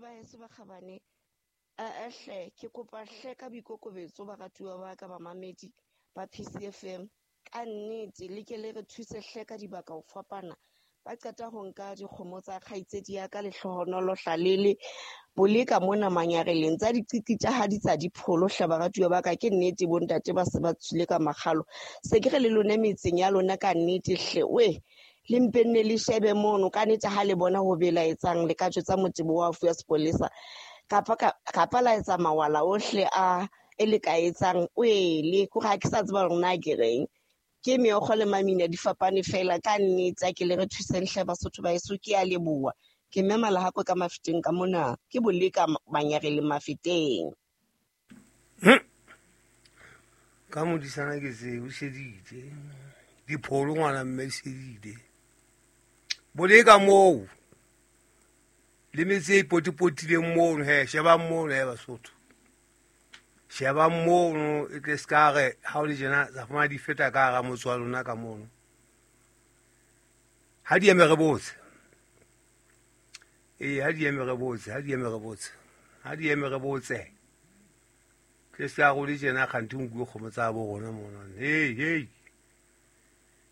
Basotho ba heso ba kgabane, aa hle, ke kopa hle ka boikokobetso baratuwa ba ka bamamedi ba PCFM. Ka nnete le ke le re thuse hle ka dibaka ho fapana. Ba qeta ho nka dikgomo tsa kgaitsedi ya ka Lehlohonolo Hlalele Boleka mona Manyareleng tsa diqiti tsa ha di tsa dipholo hle baratuwa ba ka. Ke nnete bontate ba se ba tswile ka makgalo. Se ke re le lona metseng ya lona ka nnete hle we le mpe nne le shebe mono ka nnete ha le bona ho belaetsang le ka jwetsa motebo wa fuwa sepolesa kapa kapa la etsa mawala ohle a e le ka etsang oele kore ha ke sa tseba hore na ke reng. Ke meokgo le mamina di fapane fela ka nnete a ke le re thuseng hle Basotho ba heso, ke a leboha. Ke mme Malahako ka Mafeteng ka mona, ke Boleka Manyareleng Mafeteng. Ka modisana ke se o sheditse dipholo ngwana mme di shedile Boleka moo le metse e potipotileng mono he, shebang mono he Basotho, shebang mono e tle se ka re ha o le tjena tsa fumana di feta ka hara motse wa lona ka mono. Ha di eme re botse, ee, ha di eme re botse, ha di eme re botse, ha di eme re botse. Tle se ka re o le tjena kganthe o nkuwe kgomo tsa bo rona mono. Hei, hei,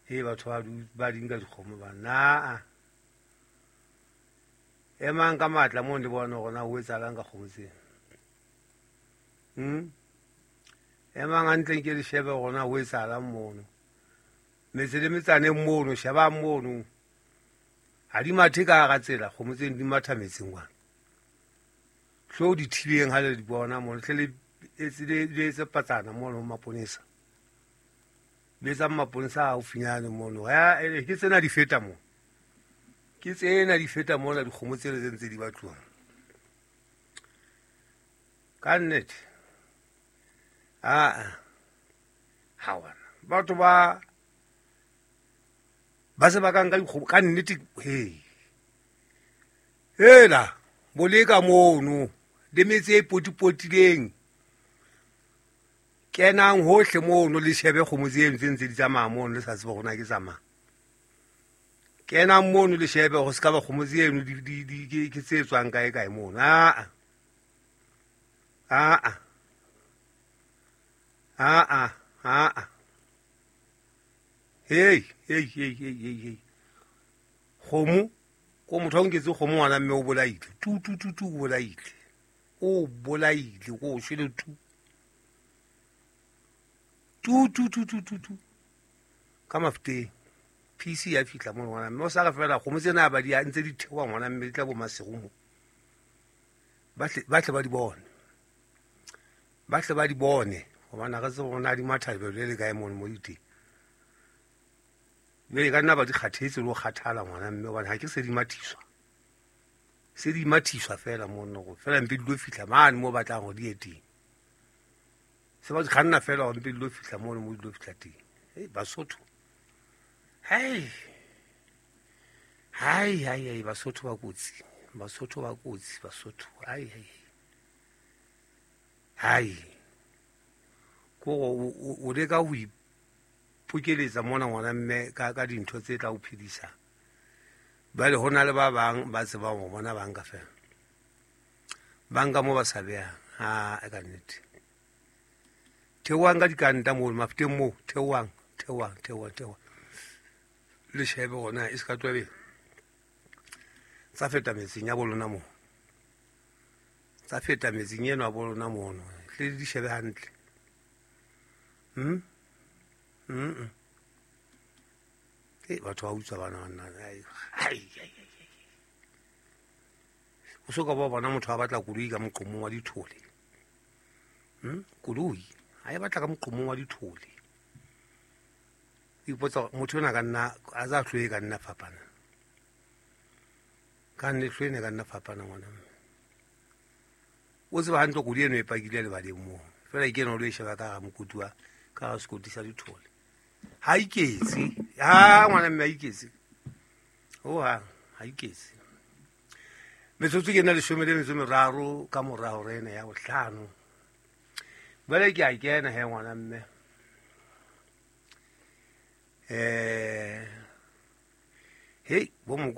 hei, batho ba di nka dikgomo ba na. Emang ka matla moo le bona hore na ho etsahalang ka kgomo tsena. Emang hantle nke le shebe hore na ho etsahalang mono. Metse le metsaneng mono, shebang mono. Ha di mathe ka hara tsela, kgomo tseno di matha metseng kwana. Hlo di thibeng ha le di bona mono, hle le etse patsana mono ho maponesa. Le etsang maponesa haufinyane mono. Ke tsena di feta mono. Ke tsena di feta mona dikgomo tsena tse ntse di batluwang. Ka nnete. Aa. Ha wana. Batho ba se ba ka nka dikgomo ka nnete, he. Hela, Boleka mono le metse e potipotileng. Kenang hohle mono le shebe kgomo tseno tse ntse di tsamaya mono le sa tsebe hore na ke tsamaya. Kenang mono le shebe hore se ka ba kgomo tseno ke tse tswang kae kae mono. Aa. Aa. Aa. Aa. Hei, hei, hei, hei, hei, hei. Kgomo, ko motho a nketse kgomo ngwana mme o bolaile. Tu, tu, tu, tu, o bolaile. O bolaile, ko o shwele tu. Tu, tu, tu, tu, tu, tu. Ka Mafeteng. PC ya fihla mono ngwana mme o sa re fela kgomo tsena ba di ntse di theoha ngwana mme di tla bo Maseru mo. Ba tle ba di bone. Ba tle ba di bone hobane ha re tsebe hore na di matha lebelo le le kae mono mo di teng. Jwale ka nna ba di kgathetse le ho kgathala ngwana mme hobane ha ke se di mathiswa. Se di mathiswa fela mono hore fela mpe di lo fihla mane mo batlang hore di ye teng. Se ba di kganna fela hore mpe di lo fihla mono mo di lo fihla teng. Hei, Basotho. Hei. Hai, hai, hai, Basotho ba kotsi. Basotho ba kotsi, Basotho. Hai, hai. Hai. Kore o leka ho ipokeletsa mona ngwana mme ka dintho tse tla o phedisa. Jwale ho na le ba bang ba tsebang ho bona banka fela. Banka mo ba sa behang. Ha, e ka nnete. Theohang ka dikanta moo, Mafeteng moo, theohang, theohang, theohang, theohang. Le shebe hore na e se ka tloha tsa feta metseng ya bo lona moo. Tsa feta metseng eno ya bo lona mono. Hle le di shebe hantle. Batho ba utswa bana banna. Ai, ai, ai, ai. O so ka ba bona motho a batla koloi ka moqomong wa dithole. Koloi ha e batla ka moqomong wa dithole. Ipotsa motho ona ka nna a za hloe ka nna fapana. Ka nne hloe ne ka nna fapana ngwana mme. O tseba hantle koloi eno e pakile lebaleng moo. Fela ke ena o lo e sheba ka hara mokoti wa ka hara sekoti sa dithole. Ha iketse. Ha ngwana mme ha iketse. Ho hang ha iketse. Metsotso ke ena 13 ka mora hora ena ya bohlano. Jwale ke a kena he ngwana mme. Hei, bo moko